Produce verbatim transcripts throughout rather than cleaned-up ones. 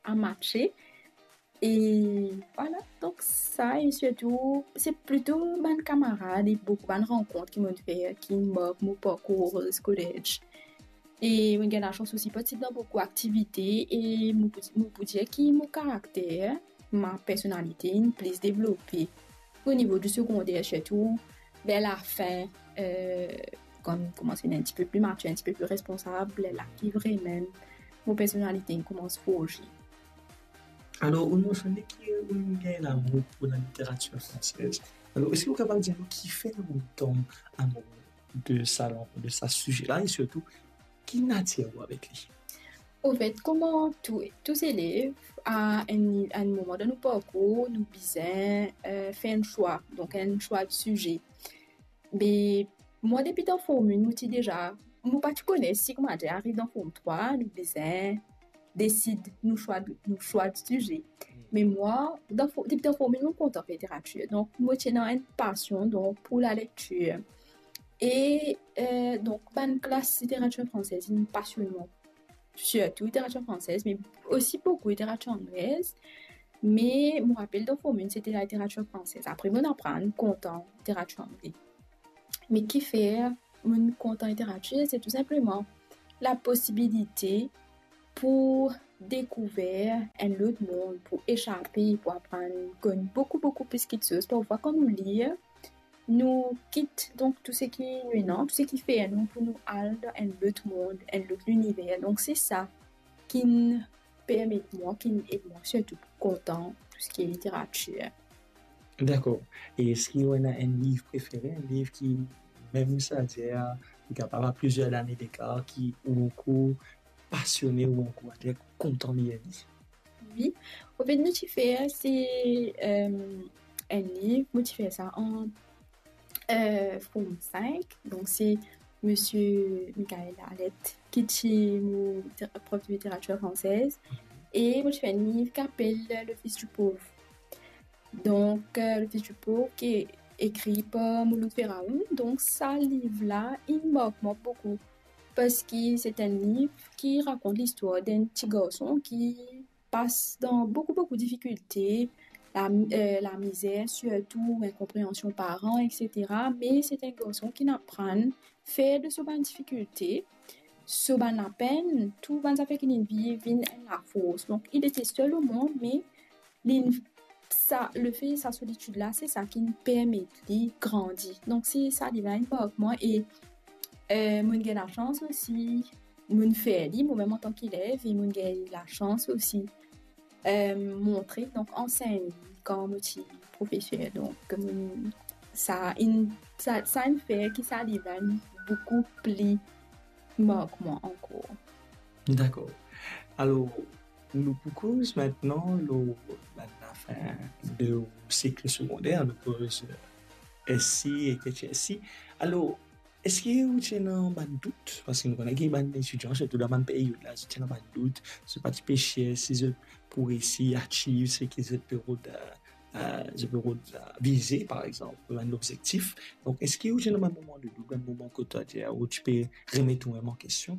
a matche. E vwala, donk sa, e sirtou, se plito bann kamarad e boukou bann rankont ki mo'nn fer, ki mark mo parkour skoler. E mo'nn gagn lasans osi partisip dan boukou aktivite e mo pou, mo pou dir ki mo karakter, ma personalite inn plis devlope o nivo di segonder, sirtou ver lafin, eh, kan mo koumans vinn enn tipe pli matir, enn tipe pli responsab, lerla ki vremem mo personalite inn koumans forze. Alor, ou mensionn ki ou gagn lamour pou laliteratir fransez. Alor, eski ou kapav dir nou kifer ou tom amour de sa lang, de sa size la, e sirtou, ki natir ou avek li? Anfet, kouma tou, tou zelev, a enn, a enn moman dan nou parkour, nou bizin, eh, fer enn swa, donk enn swa de size. Me mwa, depi dan Form enn, mo ti deza, mo pa ti kone si, koumadir, ariv dan Form trwa, nou bizin desid nou swa, nou swa de size. Me mwa, dan Fo-, depi dan Form enn, mo kontan fer literatir. Donk, mo ti ena enn pasion, donk, pou lalektir. E, eh, donk, bann klas literatir fransez, inn pasionn mwa. Sirtou literatir fransez, me osi boukou literatir anglez. Me mo rapel dan Form enn, sete laliteratir fransez. Apre, mo'nn aprann kontan literatir angle. Me kifer mo'nn kontan literatir, se tou sinpleman laposibilite pou dekouver enn lot mond, pou esape, pou aprann konn boukou, boukou plis kiksoz. Parfwa, kan nou lir, nou kit, donk, tou seki nou ena, tou seki fer nou pou nou al dan enn lot mond, enn lot liniver. Donk, se sa ki'nn permet mwa, ki'nn ed mwa sirtou pou kontan tou seki literatir. Dakor. E eski ou ena enn liv prefere, enn liv ki, mem si, savedir, li kapav a plizier lane dekar, ki ou ankor pasione, ou ankor, savedir, kontan lir li? Wi. Anfet, mo ti fer, se, eh, enn liv, mo ti fer sa an, eh, Form fink. Donk, se Misie Michael Alette, ki ti mo liter-, prof de literatir fransez. E mo ti fer enn liv ki apel Le Fils du Pauvre. Donk, eh, Le Fils du Pauvre, ki ekri par Mouloud Feraoun. Donk, sa liv la, li mark mwa boukou. Parski se enn liv ki rakont listwar d'enn ti garson ki pas dan boukou, boukou difikilte, la, eh, lamizer, sirtou inkonpreansion paran, et cetera. Me se enn garson ki'nn aprann fer de so bann difikilte, so bann lapenn, tou bann zafer ki li'nn viv, vinn enn lafors. Donk, li ti sel o mond, me li, sa, lefe sa solitid la, se sa ki'nn permet li grandi. Donk, se sa liv la inn mark mwa e, eh, mo'nn gagn lasans osi, mo'nn fer li, momem antan ki elev, e mo'nn gagn lasans osi, eh, montre, donk, ansegn li kan mo ti profeser. Donk, mo'nn, sa inn, sa, sa inn fer ki sa liv la inn boukou pli mark mwa ankor. Dakor. Alor, nou pou koz aster lor bann lafin de ou sik segonder, nou koz, eh, S C ek H S C. Alor, eski ou ti ena bann dout? Parski nou kone ki bann etidian, sirtou dan bann peryod la, zot ti ena bann dout, zot pa ti pe sir si zot pou resi achieve seki zot pe rod, eh, eh, zot pe rod, eh, vize, par exanp, bann lobzektif. Donk, eski ou ti ena bann moman de dout, bann moman kot ou ti, ou ti pe remet ou mem an kestion?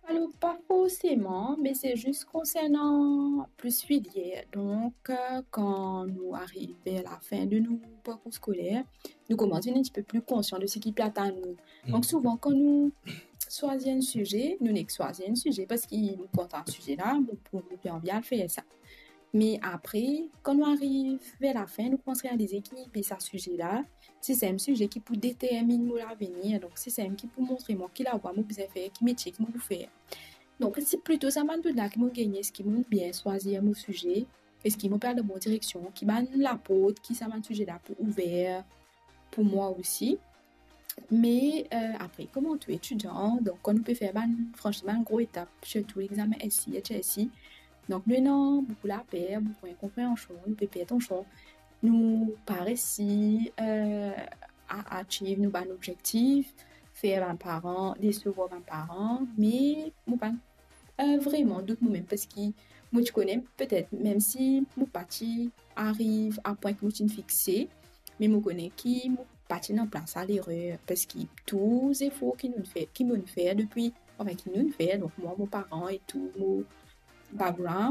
Alor, pa forseman, me se zis konsernan plis filier. Donk, eh, kan nou ariv ver lafin de nou parkour skoler, nou koumans vinn enn tipe pli konsian de seki pe atann nou. Donk, souvan, kan nou swazir enn size, nou nek swazir enn size parski nou kontan size la, nou, nou pe anvi al fer sa. Me apre, kan nou ariv ver lafin, nou koumans realize ki, be, sa size la, se sa mem size ki pou determinn mo lavenir. Donk, se sa mem ki pou montre mwa ki lavwa mo bizin fer, ki metie ki mo pou fer. Donk, se plito sa bann dout la ki mo gagne, eski mo bien swazir mo size, eski mo pe al dan bon direksion, ki bann laport ki sa bann size la pou ouver pou mwa osi. Me, eh, apre, kouma tou etidian, donk, kan nou pe fer bann, franchman, bann gro etap, sirtou lexamen S C, H S C, donk, nou ena boukou laper, boukou inkonpreansion, nou pe per tansion, nou pa resi, eh, a achieve nou bann obzektif, fer bann paran, desevwar bann paran, me mo pa, eh, vreman dout momem, parski mo ti kone, petet, mem si mo pa ti ariv a pwin ki mo ti fixe, me mo kone ki mo pa ti ena plas a lerer, parski tou zefor ki nou fer, ki mo'nn fer depi, anfin, ki nou'nn fer, donk mwa, mo paran e tou mo background,